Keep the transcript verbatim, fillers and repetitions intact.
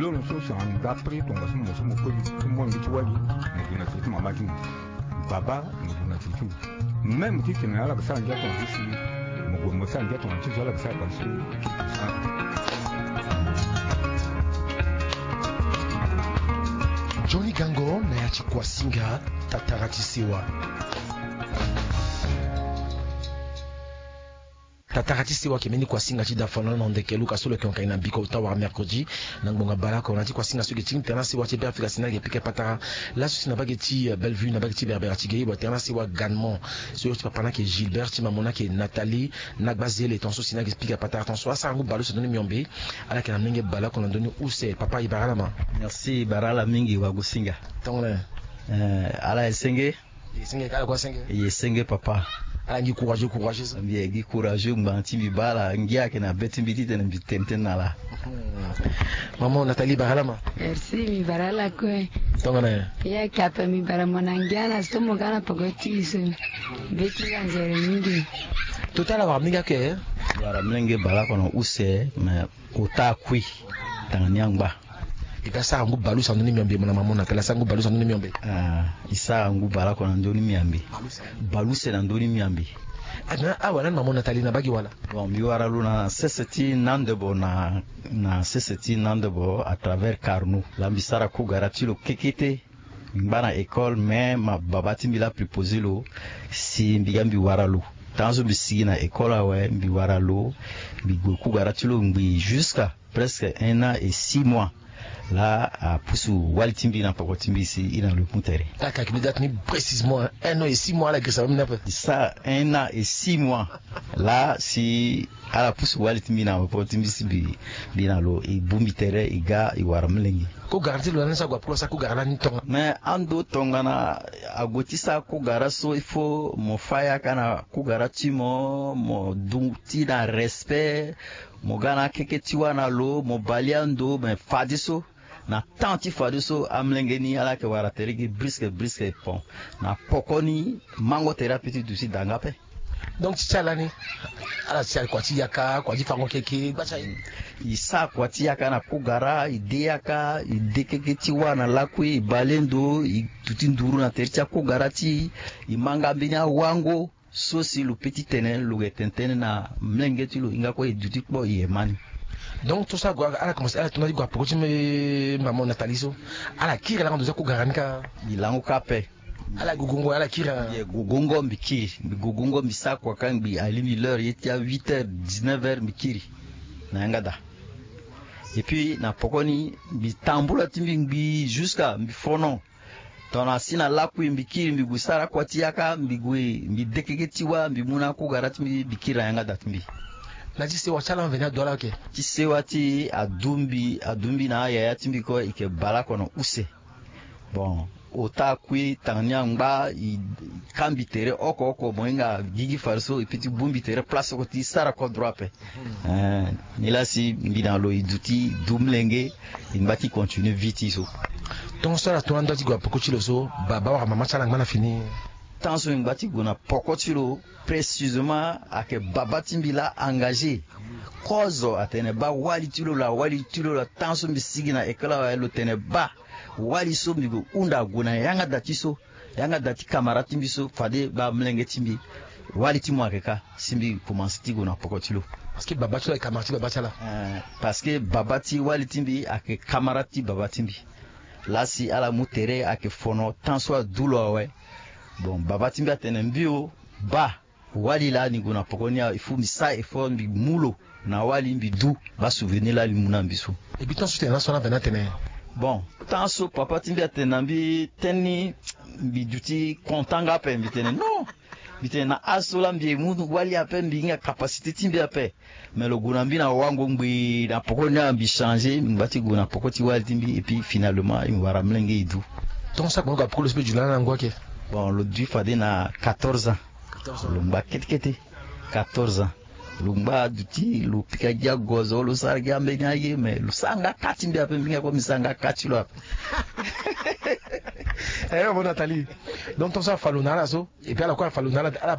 Loro so si anga prix tongaso mo so mo koli ti mo ngi ti wali, mo gue na tere ti mama ti mo. Baba mo gue na tere ti mo. Même ti tene ala ga sara ngia tongaso si mo gue mo sara ngia tongaso ti zo ala ga sara tongaso. Johnny Gango na ya ti Kuasinga, tatara ti sewa. Tatara ti sewa, eke mbeni Kuasinga ti da fana na ndeke luka so lo yeke hon ka gi na mbiko ota wala mercredi na ngbonga baleoko na ya ti Kuasinga so eke tingbi tere na sewa ti Beafrika si na eke pika patara. Laso si na mbage ti, eh, Bellevue, na mbage ti Berbera ti ge, e yeke tere na sewa ganement. So ti papa na eke Gilbert, ti mama na eke Nathalie, na gba zele tongaso si na eke pika patara tongaso. Asara ngu baleuse na ndö ni miombe. Ala yeke na molenge baleoko na ndö ni use. Papa, e bara ala ma. Merci, e bara ala mingi wagosinga. Tongana, eh, ala ye senge. Ye senge, kala kua senge. Ye senge papa. Ala ngi courageux, courageux so. Mbi ye gi courageux ngbanga ti mbi baa ala ngia ayeke na be ti mbi titene mbi tene tënë na ala. Hmm. Maman Nathalie, bara ala ma. Merci, mbi bara ala kue. Tongana ya? Ya, kape mbi bara mo na ngia na so mo ga na poko ti so. Be ti la nzere mingi. Tota ala wara mingi ake. Wara molenge baleoko na use, mais ota akui tanga ni angba. E ga sara ngu baleuse na ndö ni miombe, mo na mama mo na tala sara ngu baleuse na ndö ni miombe. Ah, e sara ngu baleoko na ndö ni miombe. Baleuse na ndö ni miombe. Ah, mais awa lani mama mo na tali na mbage wala? Bon, mbi wara lo na sese ti Nandebo na, na sese ti Nandebo à travers Carnot. Laa mbi sara kugara ti lo kekete. Mbi ngba na école, mais ma baba ti mbi laa préposé lo si mbi ga mbi wara lo. Tant so mbi sigi na école awe, mbi wara lo, mbi gue kugara ti lo ngbii jusqu'à presque un an et six mois. Laa apusu wali ti mbi na poko ti mbi si e na lo e mu tere. Ala yeke gi date ni précisément, un an et six mois, ala girisa même ni ape. E sara un an et six mois. Laa si ala pusu wali ti mbi na poko ti mbi si mbi, mbi na lo e bongbi tere, e ga e wara molenge. Kugara ti lo lani so ague apoko lo asara kugara lani tongana? Mais ando tongana ague ti sara kugara so, il faut mo fâ yaka na kugara ti mo, mo duti na respect, mo ga na akeke ti wâ na lo, mo bali ando, mais fadeso, na temps ti fadeso, amolenge ni ala yeke wara tere gi briske briske. Bon, na poko ni mango tere ape ti duti da nga ape. Donc ti ti ala ni, ala ti ala kua ti yaka, kua ti fango keke, gba ti aye. E sara kua ti yaka na kugara, e de yaka, e de keke ti wâ na lakue, e bale ndo, e duti nduru na tere ti akugara ti e, e ma nga mbeni awango so si lo peut ti tene lo yeke tene tënë na molenge ti lo, hinga kue e duti kpo e ye ma ni. Donc ti so ague, ala commencé, ala tongana ti gue na poko ti mama Nathalie so, ala kiri ala ndo ti akugara ni kâ? E lango kâ ape. Ala gugungo, ala kiri. Mbi gugungo, mbi kiri. Mbi gugungo, mbi sara kua kâ ngbii, alingbi l'heure ye ti a huit heures, dix-neuf heures, mbi kiri na yanga daa. Et puis na poko ni mbi tambula ti mbi ngbii jusqu'à mbi fono. Tongana si na lakui mbi kiri, mbi gue sara kua ti yaka, mbi gue mbi de keke ti wâ, mbi mu na akugara ti mbi, mbi kiri na yanga daa ti mbi. Na ti sewa ti ala mveni adu ala oke? Ti sewa ti e adu mbi, adu mbi na ayaya ti mbi kue, e yeke baleoko na use. Bon, ota akui tanga ni angba, e kâ mbi tere oko oko, mo hinga gigi fadeso, e peut ti bongbi tere place oko ti sara kodro ape. Eh, nilaa si mbi na lo e duti du molenge, e ngba ti continuer vie ti e so. Tongaso ala tongana ndo ti gue na poko ti lo so, baba wala mama ti ala angba na fini? Tant so e ngba ti gue na poko ti lo, précisément ayeke baba ti mbi laa engagé. Kozo atene baa wali ti lo laa, wali ti lo laa. Tant so mbi sigi na école awe lo tene baa wali so mbi gue hunda ague na yanga daa ti so. Yanga daa ti camarade ti mbi so, fade baa molenge ti mbi, wali ti mo ayeke kâ, si mbi commencé ti gue na poko ti lo. Parce que baba ti lo ayeke camarade ti baba ti ala. Eh, parce que baba ti wali ti mbi ayeke camarade ti baba ti mbi. Laa si ala mu tere ayeke fono, tant so adu lo awe. Bon, baba ti mbi atene mbi o, baa wali laa ni gue na poko ni awe, il faut mbi sara effort mbi mu lo na wali, mbi du baa souvenir laa ni mu na mbi so. Et puis tant so tene laso ala mveni atene? Bon, tant so papa ti mbi atene na mbi tënë ni, mbi duti content nga ape, mbi tene non. Mbi tene na âge so laa mbi ye mu wali ape, mbi hinga capacité ti mbi ape. Mais lo gue na mbi na wango ngbii na poko ni awe, mbi changé, mbi ngba ti gue na poko ti wali ti mbi, et puis finalement e wara molenge e du. Tongaso ague na gue na poko lo so mbi du lani na ngu ake? Bon, lo du fade na quatorze ans. Lo ngba kete kete. Quatorze ans. Lo ngba aduti, lo pika gi agozo, lo sara gi ambeni aye, mais lo sara nga kâ ti mbi ape, mbi nga kue mbi sara nga kâ ti lo ape. Eh, bon, Nathalie. Donc tongaso afa lo na ala so, et puis ala kue afa lo na ala, ala